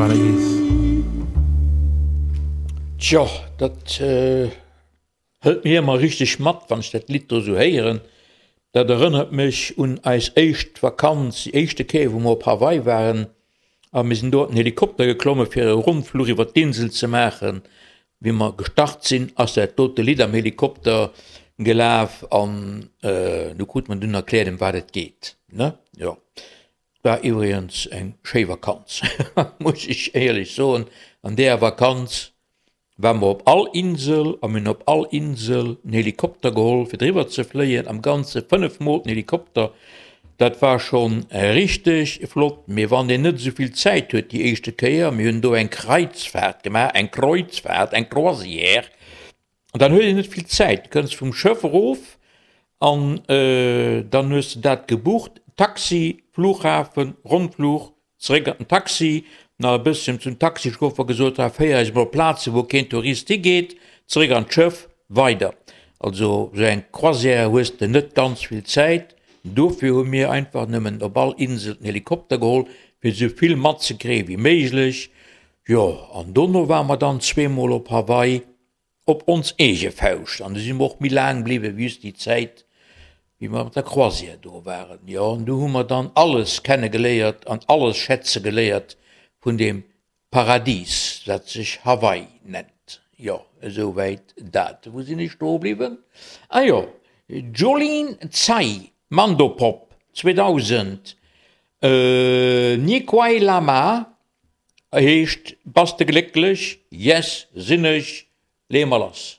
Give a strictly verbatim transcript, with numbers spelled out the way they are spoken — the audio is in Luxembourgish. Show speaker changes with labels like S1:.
S1: Paradis.
S2: Tjo, dat hëlt mech ëmmer richteg mat, wann ech dat Lidd do sou héieren. Dat erënnert mech un eis éischt Vakanz, déi éischte Kéier, wou mer op Hawaii waren a mir sinn do an den Helikopter geklomme fir e Rondfluch iwwer d'Insel ze maachen. Wéi mer gestart sinn, ass dat dote Lidd am Helikopter gelaf an du krut mer dunn erkläert, ëm wat et geet, ne? Jo. War iwwregens eng schéi Vakanz, muss ech éierlech soen. An deeër Vakanz ware mer op all Insel a mir hunn op all Insel en Helikopter geholl, fir driwwer ze fléien. Am Ganze fënnef Mol den Helikopter. Dat war schonn richteg flott. Mee wann een net esou vill Zäit huet déi éischte Kéier, mir hunn do eng Kreuzfahrt gemaach, eng Kreuzfahrt, eng Croisière, dann huet een net vill Zäit. Du kënns vum Schëff erof an dann hues de dat gebucht, Taxi, Flughafen, Rondfluch, zeréck an den Taxi, nach e bësschen zum Taxichauffer gesot, ha féier eis emol op Plaze wou keen Tourist higeet, zeréck an d'Schëff, weider. Also sou eng Croisière hues de net ganz vill Zäit. Dofir hu mir einfach nëmmen op all Insel den Helikopter geholl, fir esou vill matzekréie wéi méiglech. Jo, an dono ware mer dann zweemol op Hawaii op ons eege Fauscht. An du si mer och méi laang bliwwen, wéi just déi Zäit, wéi mer mat der Croisière do waren. Jo, an du hu mer dann alles kennegeléiert an alles schätze geléiert vun deem Paradis, dat sech Hawaii nennt. Jo, esouwäit dat. Wou sinn ech stoe bliwwen? Ah jo, Jolene Tsai, Mandopop, zweedausend, Ni Quai Lama heescht Bass de glécklech? Yes, sinn ech, leeë mer lass.